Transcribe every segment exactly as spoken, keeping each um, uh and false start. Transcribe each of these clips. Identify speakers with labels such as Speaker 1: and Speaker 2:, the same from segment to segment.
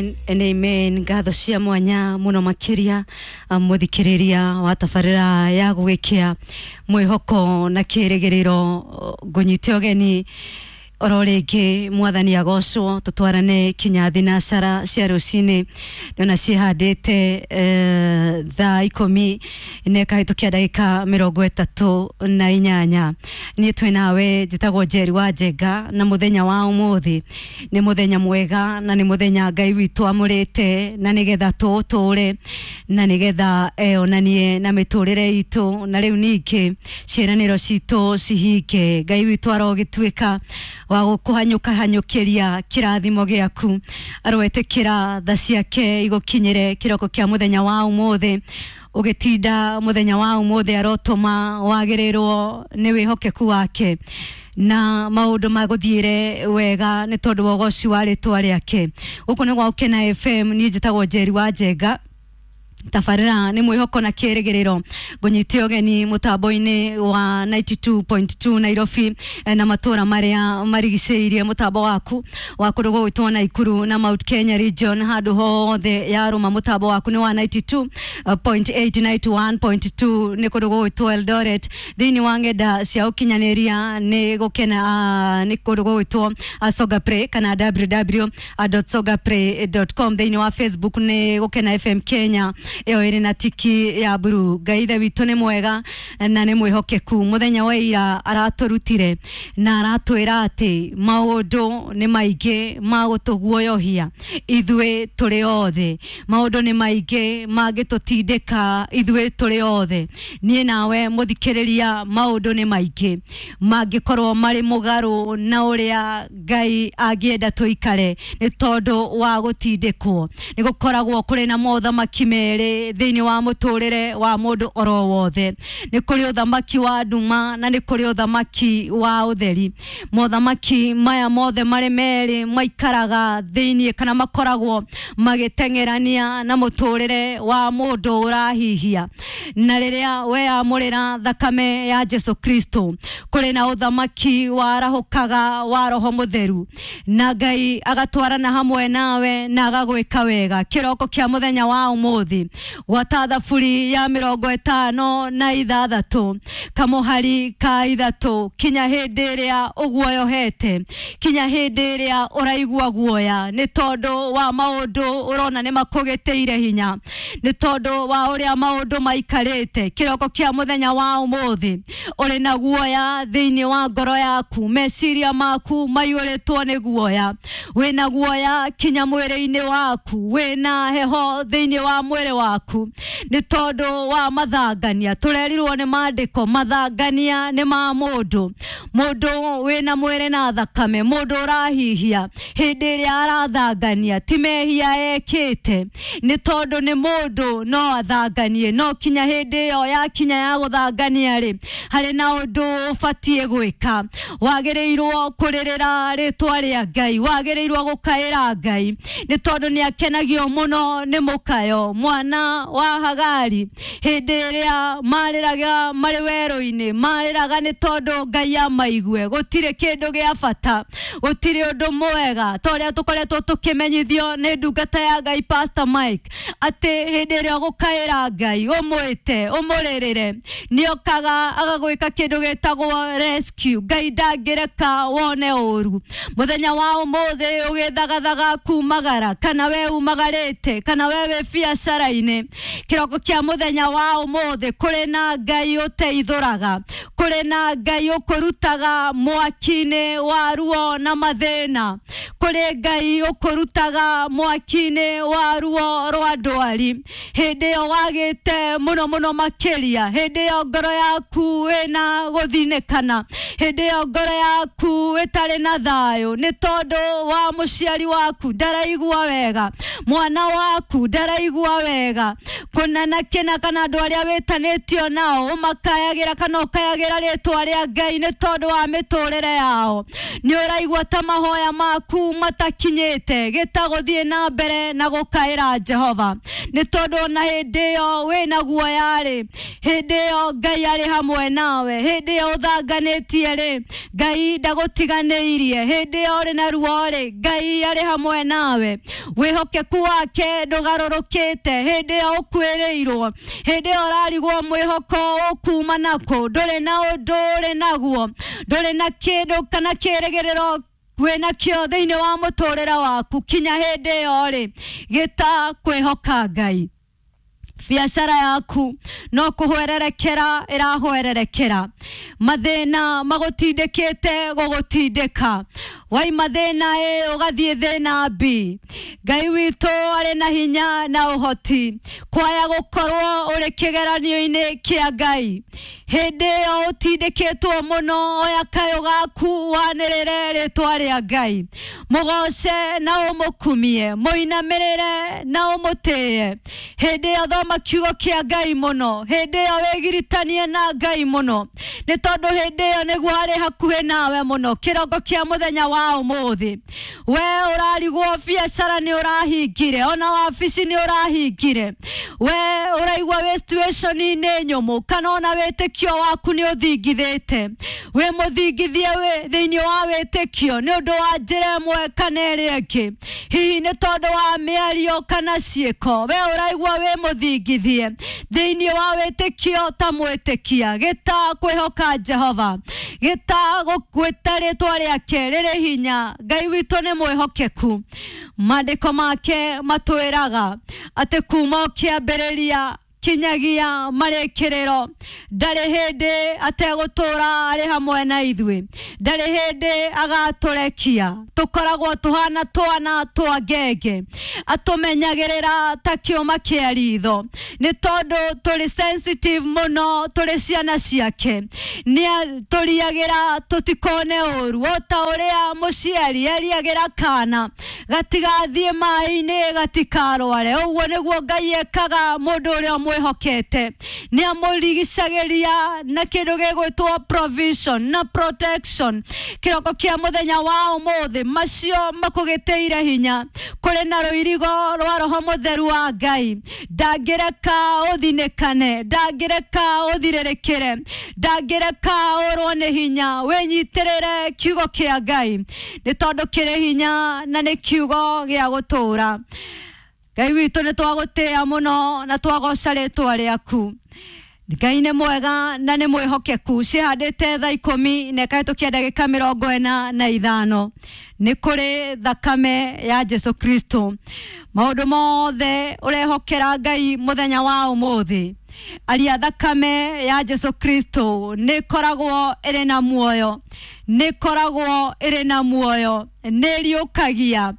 Speaker 1: And amen. Ngatho cia mwanya muno makiria muthikiriria wa tabarira ya gugikia mwihoko na kirigiriro ngunyite ugeni oro ringi mwathani agocwo tutwarane kinya thinacara cia rucini ndona cihandite eh, thaa ikumi na ikahitukia ndagika mirongo itatu na inyanya. Niĩ twĩ nawe njĩtagwo Njeri wa Njenga, na muthenya wa umuthi ni muthenya mwega na ni muthenya Ngai witũ amũrĩte na nigetha tũũtũre na nigetha eonanie na mĩtũrĩre itũ, na rĩu ningĩ ciĩranĩro citũ cihinge. Ngai witũ arogĩtuĩka wa gũkũhanyũka hanyũkĩria kĩrathimo gĩaku, aroetĩkĩra tha ciake igũkinyĩre kĩroko kĩa mũthenya wa ũmũthĩ. Ũgĩtinda mũthenya wa ũmũthĩ arotũma wagĩrĩrwo nĩ wĩhokeku wake na maũndũ magũthiĩre wega nĩ tondũ wa ũgoci wa rĩtwa rĩake. Gũkũ nĩ gwa Gũkena F M, niĩ njĩtagwo Njeri wa Njenga. Tabarĩra nĩ mwĩhoko na kĩrĩgĩrĩro. Ngũnyite ũgeni mũtambo-inĩ wa ninety two point two Nairobi na matũra marĩa marigicĩirie mũtambo waku wa kũndũ gũgwĩtwo Naikuru na Mount Kenya region, handũ hothe yarũma mũtambo waku nĩ wa ninety two point eight, ninety one point two nĩ kũndũ gũgwĩtwo Eldoret. Thĩinĩ wa ng'enda cia ũkinyanĩria nĩ gũkena, nĩ kũndũ gũgwĩtwo Songa Play kana w w w dot songa play dot com. Thĩinĩ wa Facebook nĩ Gũkena F M Kenya, ĩyo ĩrĩ na tiki ya mburu. Ngai ithe witũ nĩ mwega na nĩ mwĩhokeku. Mũthenya wa ira aratũrutire na aratwĩra atĩ maũndũ nĩ maingĩ ma gũtũguoyohia ithuĩ tũrĩ othe, maũndũ nĩ maingĩ mangĩtũtindĩka ithuĩ tũrĩ othe. Niĩ nawe mũthikĩrĩria, maũndũ nĩ maingĩ mangĩkorwo marĩ mũgarũ na ũrĩa Ngai angĩenda tũikare nĩ tondũ wa gũtindĩkwo. Nĩ gũkoragwo kũrĩ na mothamaki merĩ thĩinĩ wa mũtũrĩre wa mũndũ oro wothe. Nĩ kũrĩ ũthamaki wa nduma na nĩ kũrĩ ũthamaki wa ũtheri. Mothamaki maya mothe marĩ merĩ maikaraga thĩinĩ kana makoragwo magĩteng'erania na mũtũrĩre wa mũndũ ũrahihia. Na rĩrĩa weyamũrĩra thakame ya Jesu Kristo, kũrĩ na ũthamaki warahũkaga wa Roho Mũtheru, na Ngai agatwarana hamwe nawe na agagwĩka wega. Kĩroko kĩa mũthenya wa ũmũthĩ, gwata thaburi ya mĩrongo ĩtano na ithathatũ kamũhari ka ithatũ, kinya hĩndĩ ĩrĩa ũguoyohete, kinya hĩndĩ ĩrĩa ũraigua guoya nĩ tondũ wa maũndũ ũrona nĩ makũgĩtĩire hinya, nĩ tondũ wa ũrĩa maũndũ maikarĩte. Kĩroko kĩa mũthenya wa ũmũthĩ ũrĩ na guoya thĩinĩ wa ngoro yaku, meciria maku maiyũrĩtwo nĩ guoya, wĩna guoya kinya mwĩrĩ-inĩ waku, wĩna heho thĩinĩ wa mwĩrĩ waku nĩ tondũ wa mathangania. Tũrerirwo nĩ maandĩko, mathangania nĩ ma mũndũ, mũndũ wĩna mwĩrĩ na thakame, mũndũ ũrahihia hĩndĩ ĩrĩa arathangania ti mehia ekĩte, nĩ tondũ nĩ mũndũ no athanganie, no kinya hĩndĩ ĩyo yakinya ya gũthangania rĩ, harĩ na ũndũ ũbatiĩ gwĩka. Wagĩrĩirwo kũrĩrĩra rĩtwa rĩa Ngai, wagĩrĩirwo gũkaĩra Ngai nĩ tondũ nĩ akenagio mũno nĩ mũkayo. Mwana wa Hagari hĩndĩ ĩrĩa marĩraga marĩ werũ-inĩ, marĩraga nĩ tondũ Ngai amaigue. Gũtirĩ kĩndũ gĩa bata, gũtirĩ ũndũ mwega ta ũrĩa tũkoretwo tũkĩmenyithio nĩ ndungata ya Ngai Pastor Mike, atĩ hĩndĩ ĩrĩa ũgũkaĩra Ngai ũmwĩte ũmũrĩrĩre, nĩokaga agagwĩka kĩndũ gĩtagwo rescue. Ngai ndangĩreka wone ũru. Mũthenya wa ũmũthĩ ũgĩthagathaga kumagara, kana we umagarĩte, kana we wĩ biacara-inĩ, kĩroko kĩa mũthenya wa ũmũthĩ kũrĩ na Ngai ũteithũraga, kũrĩ na Ngai ũkũrutaga mwaki-inĩ wa ruo na mathĩna, kũrĩ Ngai ũkũrutaga mwaki-inĩ wa ruo rwa ndwari. Hĩndĩ ĩyo wagĩte mũno mũno makĩria, hĩndĩ ĩyo ngoro yaku ĩna gũthinĩkana, hĩndĩ ĩyo ngoro yaku ĩtarĩ na thayũ nĩ tondũ wa mũciari waku ndaraigua wega, mwana waku ndaraigua wega. wega kuna na kina kana andũ arĩa wĩtanĩtio nao ũmakayagĩra kana ũkayagĩra rĩtwa rĩa Ngai nĩ tondũ wa mĩtũrĩre yao nĩ ũraigua ta mahoya maku matakinyĩte gĩta gũthiĩ na mbere na gũkaĩra Jehova nĩ tondũ ona hĩndĩ ĩyo wĩna guoya rĩ hĩndĩ ĩyo Ngai arĩ hamwe nawe hĩndĩ ĩyo ũthanganĩtie rĩ Ngai ndagũtiganĩirie hĩndĩ ĩyo ũrĩ na ruo rĩ Ngai arĩ hamwe nawe wĩhokeku wake ndũgarũrũkĩte hĩndĩ ĩyo ũkuĩrĩirwo hĩndĩ ĩyo ũrarigwo mwĩhoko ũkuma nakũ ndũrĩ na ũndũ ũrĩ naguo ndũrĩ na kĩndũ kana kĩrĩgĩrĩro wĩna kĩo thĩinĩ wa mũtũrĩre waku kinya hĩndĩ ĩyo rĩ gĩta kwĩhoka Ngai biacara yaku no kuhwererekera irahwererekera mathina magutindikite gugutindika waima thina A ugathie thina B Ngai witũ arĩ na hinya na ũhoti kwaya gũkorwo ũrĩ kĩgeranio-inĩ kĩa Ngai hĩndĩ ĩyo ũtindĩkĩtwo mũno oya kayũ gaku wanĩrĩre rĩtwa rĩa Ngai mũgoce na ũmũkumie mũinamĩrĩre na ũmũtĩe hĩndĩ ĩyo thoma kiugo kĩa Ngai mũno hĩndĩ ĩyo wĩgiritanie na Ngai mũno nĩ tondũ hĩndĩ ĩyo nĩguo arĩ hakuhĩ nawe mũno kĩroko kĩa mũthenya wa ũmũthĩ we ũrarigwo biacara nĩ ũrahingire ona wabici nĩ ũrahingire we ũraigua wĩ situation-inĩ nyũmũ kana ona wĩtĩkio waku nĩ ũthingithĩte wĩ mũthingithie wĩ thĩinĩ wa wĩtĩkio nĩ ũndũ wa njĩra ĩmwe kana ĩrĩa ĩngĩ hihi nĩ tondũ wa mĩario kana ciĩko we ũraigua wĩ mũthingithie thĩinĩ wa wĩtĩkio ta mwĩtĩkia gĩta kwĩhoka Jehova gĩta gwĩta rĩtwa rĩake rĩrĩ hinya Ngai witũ nĩ mwĩhokeku maandĩko make matwĩraga atĩ kuma kĩambĩrĩria kinyagia marĩkĩrĩro ndarĩ hĩndĩ ategũtũra arĩ hamwe na ithuĩ ndarĩ hĩndĩ agatũrekia tũkoragwo tũhana twana twa ngenge atũmenyagĩrĩra ta kĩũma kĩa ritho nĩ tondũ tũrĩ sensitive mũno tũrĩ ciana ciake nĩ tũriagĩra tũtikone ũru o ta ũrĩa mũciari eriagĩra kana gatigathiĩ maĩ-inĩ gatikarware ũguo nĩguo Ngai ekaga mũndũ ũrĩa mwĩhokete nĩ amũrigicagĩria na kĩndũ gĩgwĩtwo provision na protection kĩroko kĩa mũthenya wa ũmũthĩ macio makũgĩtĩire hinya kũrĩ na rũirigo rwa roho mũtheru wa Ngai ndangĩreka ũthinĩkane ndangĩreka ũthirĩrĩkĩre ndangĩreka ũrwo nĩ hinya wĩnyitĩrĩre kiugo kĩa Ngai nĩ tondũ kĩrĩ hinya na nĩ kiugo gĩa gũtũũra Ngai witũ nĩ twagũtĩĩa mũno na twagoca rĩtwa rĩaku Ngai nĩ mwega na nĩ mwĩhokeku cihandĩte thaa ikũmi na ĩkahĩtũkia ndagĩka mĩrongo ĩna na ithano nĩ kũrĩ thakame ya Jesu Kristo maũndũ mothe ũrehokera Ngai mũthenya wa ũmũthĩ aria thakame ya Jesu Kristo nĩ ĩkoragwo ĩrĩ na muoyo nĩ ĩkoragwo ĩrĩ na muoyo nĩ ĩriũkagia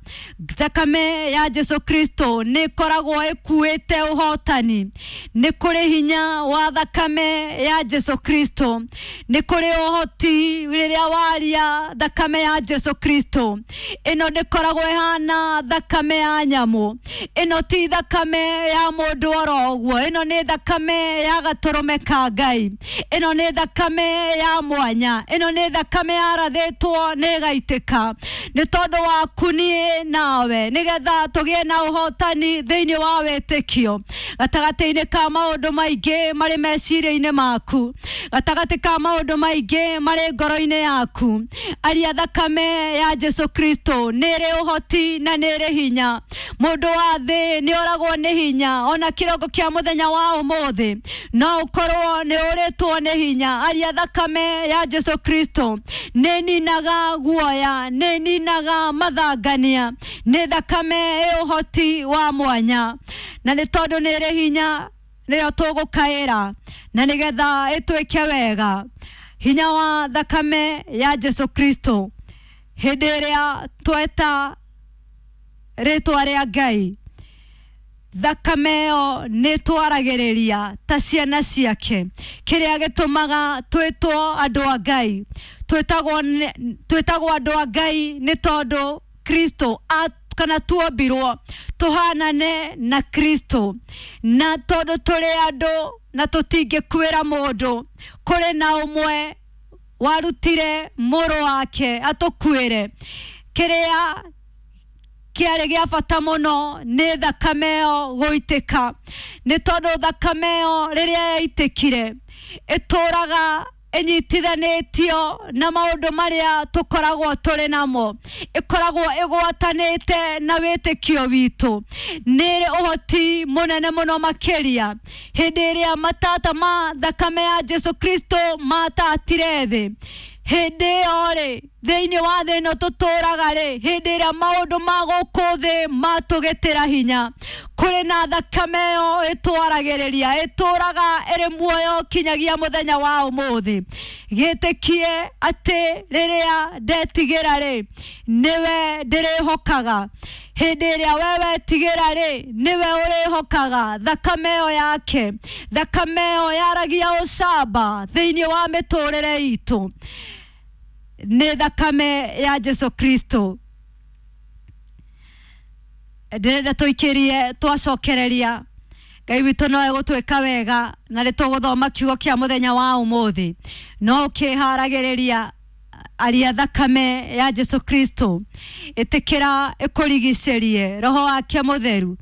Speaker 1: thakame ya Jesu Kristo nĩ ĩkoragwo ĩkuĩte ũhotani nĩ kũrĩ hinya wa thakame ya Jesu Kristo nĩ kũrĩ ũhoti rĩrĩa waria thakame ya Jesu Kristo ĩno ndĩkoragwo ĩhana thakame ya nyamũ ĩno ti thakame ya mũndũ oro ũguo ĩno nĩ thakame ya gatũrũme ka Ngai ĩno nĩ thakame ya mwanya ĩno nĩ thakame yarathĩtwo nĩ ĩgaitĩka nĩ tondũ waku niĩ nawe nĩgetha tũgĩe na ũhotani thĩinĩ wa wĩtĩkio gatagatĩ-inĩ ka maũndũ maingĩ marĩ meciria-inĩ maku gatagatĩ ka maũndũ maingĩ marĩ ngoro-inĩ yaku aria thakame ya Jesu Kristo nĩ ĩrĩ ũhoti na nĩ ĩrĩ hinya mũndũ wa thĩ nĩ oragwo nĩ hinya ona kĩroko kĩa mũthenya wa ũmũthĩ no ũkorwo nĩ ũrĩtwo nĩ hinya aria thakame ya Jesu Kristo nĩ ninaga guoya nĩ ninaga mathangania nĩ thakame ĩ ũhoti wa mwanya na nĩ tondũ nĩ ĩrĩ hinya nĩyo tũgũkaĩra na nĩgetha ĩtwĩke wega hinya wa thakame ya Jesu Kristo hĩndĩ ĩrĩa tweta rĩtwa rĩa Ngai thakame ĩyo nĩ twaragĩrĩria ta ciana ciake kĩrĩa gĩtũmaga twĩtwo andũ a Ngai twĩtagwo twĩtagwo andũ a Ngai nĩ tondũ Kristo kana tuombirwo tuhanane na Kristo, na tondu turi andu na tutingĩkuĩra mũndũ, kũrĩ na ũmwe warutire mũrũ wake atũkuĩre. Kĩrĩa kĩarĩ gĩa bata mũno nĩ thakame ĩyo gũitĩka, nĩ tondũ thakame ĩyo rĩrĩa yaitĩkire ĩtũraga ĩnyitithanĩtio na maũndũ marĩa tũkoragwo tũrĩ namo, ĩkoragwo ĩgwatanĩte na wĩtĩkio witũ. Nĩ ĩrĩ ũhoti mũnene mũno makĩria hĩndĩ ĩrĩa matata ma thakame ya Jesu Kristo matatire thĩ. Hĩndĩ ĩyo rĩ, thĩinĩ wa thĩ ĩno tũtũraga rĩ, hĩndĩ ĩrĩa maũndũ ma gũkũ thĩ matũgĩtĩra hinya, kũrĩ na thakame ĩyo ĩtwaragĩrĩria, ĩtũraga ĩrĩ muoyo kinyagia mũthenya wa ũmũthĩ. Gĩtĩkie atĩ rĩrĩa ndetigĩra rĩ, nĩwe ndĩrĩhokaga. Hĩndĩ ĩrĩa we wetigĩra rĩ, nĩwe ũrĩhokaga thakame ĩyo yake. Thakame ĩyo yaragia ũcamba thĩinĩ wa mĩtũrĩre itũ, nĩ thakame ya Jesu Kristo. Ndĩrenda tũikĩrie twacokereria Ngai witũ no egũtwĩka wega, na nĩ tũgũthoma kiugo kĩa mũthenya wa ũmũthĩ. No ũkĩharagĩrĩria aria thakame ya Jesu Kristo, ĩtĩkĩra ĩkũrigicĩrie roho wake mũtheru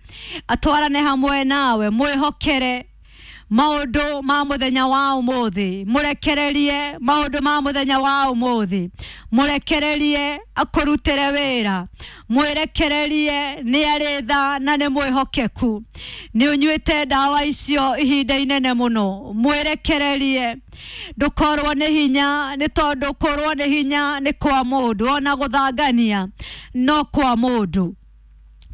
Speaker 1: atwarane hamwe nawe, mwĩhokere maũndũ ma mũthenya wa ũmũthĩ, mũrekererie maũndũ ma mũthenya wa ũmũthĩ, mũrekererie akũrutĩre wĩra, mwĩrekererie nĩ arĩ tha na nĩ mwĩhokeku. Nĩ ũnyuĩte ndawa icio ihinda inene mũno, mwĩrekererie ndũkorwo nĩ hinya, nĩ tondũ kũrwo nĩ hinya nĩ kwa mũndũ, ona gũthangania no kwa mũndũ.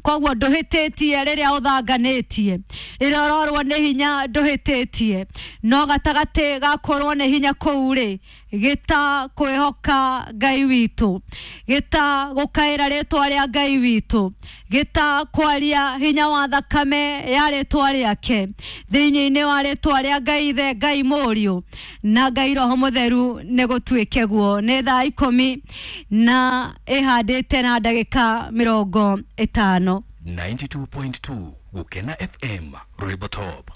Speaker 1: Koguo ndũhĩtĩtie rĩrĩa ũthanganĩtie, rĩrĩa ũrorwo nĩ hinya ndũhĩtĩtie, no gatagatĩ ga kũrwo nĩ hinya kũu rĩ, gĩta kwĩhoka Ngai witũ, gĩta gũkaĩra rĩtwa rĩa Ngai witũ, gĩta kwaria hinya wa thakame ya rĩtwa rĩake thĩinĩ-inĩ wa rĩtwa rĩa Ngai Ithe, Ngai Mũriũ na Ngai Roho Mũtheru, nĩ gũtuĩke guo. Nĩ thaa ikũmi na ĩhandĩte na ndagĩka mĩrongo ĩtano.
Speaker 2: ninety-two point two Gukena F M Rwimbo Top.